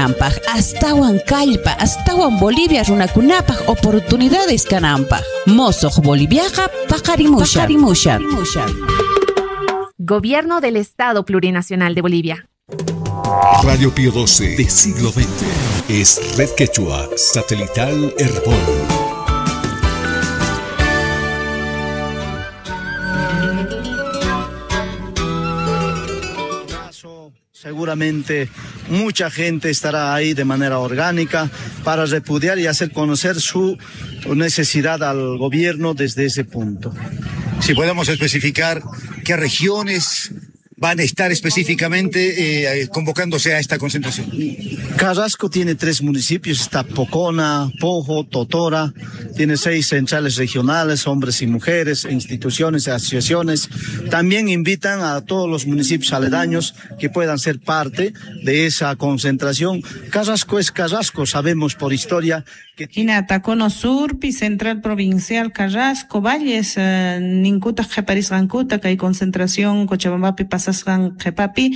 kananpaq, astawan kallpa, astawan Bolivia runakunapaq oportunidades kananpaq. Mosoq Boliviaqa paqarimushan. Gobierno del Estado Plurinacional de Bolivia. Radio Pío 12 de siglo XX es Red Quechua Satelital Herbol. Seguramente mucha gente estará ahí de manera orgánica para repudiar y hacer conocer su necesidad al gobierno desde ese punto. Si podemos especificar qué regiones van a estar específicamente convocándose a esta concentración. Carrasco tiene 3 municipios, está Pocona, Pojo, Totora, tiene 6 centrales regionales, hombres y mujeres, instituciones, asociaciones. También invitan a todos los municipios aledaños que puedan ser parte de esa concentración. Carrasco es Carrasco, sabemos por historia que Hinata, Cono Surpi, Central Provincial, Carrasco, Valles, ninkuta qhiparisqankuta kay concentración Cochabambapi pasasqan qhipapi,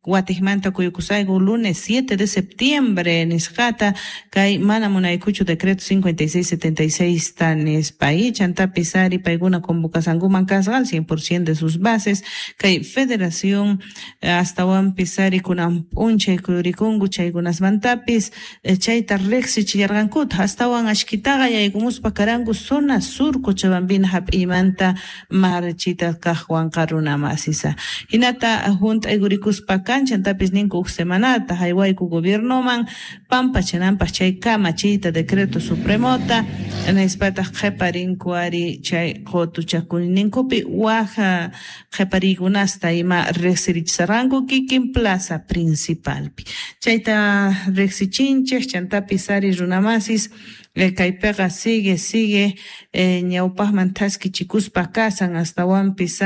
Guatemala kuyukusayku lunes 7 de septiembre nisqata kay mana munaykuchu decreto 5676 tanispa chantapis ari paykuna convocasankuman kasqa al 100% de sus bases kay federación astawanpis ari kunan p'unchay kuyurikunku chaykunasmantapis chayta riqsichillarqankuta astawan ashkitaqa yaykumuspa karanku zona sur Cochabambina hap'iymanta marchita kaqwanqa runa masisa hinata hunt'aykurikuspa kanchantapis ninku huk semanata haywayku gobiernoman pampachananpaq chay kamachiyta decreto supremota nispataq qhiparinku ari chay qutuchakuyninkupi waj qhipariykunasta ima riqsirichisarqanku kikin plaza principalpi chayta riqsichinchik chantapis ari runamasis kaypiqa sigue ñawpaqman thaskichikuspa kasan astawanpis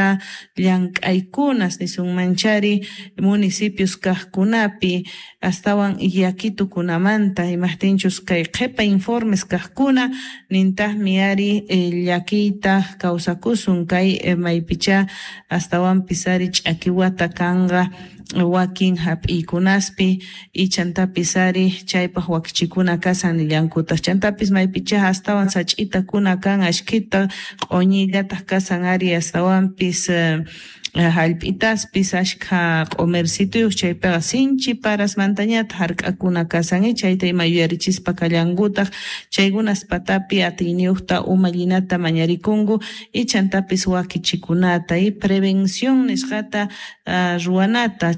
llank'aykunas nisunmanchari municipios kaqkunapi astawan llakitukunamanta imaqtinchus kay qhipa informes kaqkuna nintaqmi ari llakiyta kawsakusun kay maypicha astawanpis ari ch'akiwata kanqa wakin hap'iykunaspi ichantapis ari chaypaq wakichikuna kasan nillankutaq chantapis maypicha astawan sach'itakuna kan ashkhita q'uñillataq kasan ari astawanpis hallp'itaspis ashkha q'umersituyuq chaypiqa sinchi parasmantañataq hark'akuna kasan chayta ima yuyarichispa kallankutaq chaykunas patapi atiyniyuqta umallinata mañarikunku ichantapis wakichikunata y prevención nisqata ruwanata.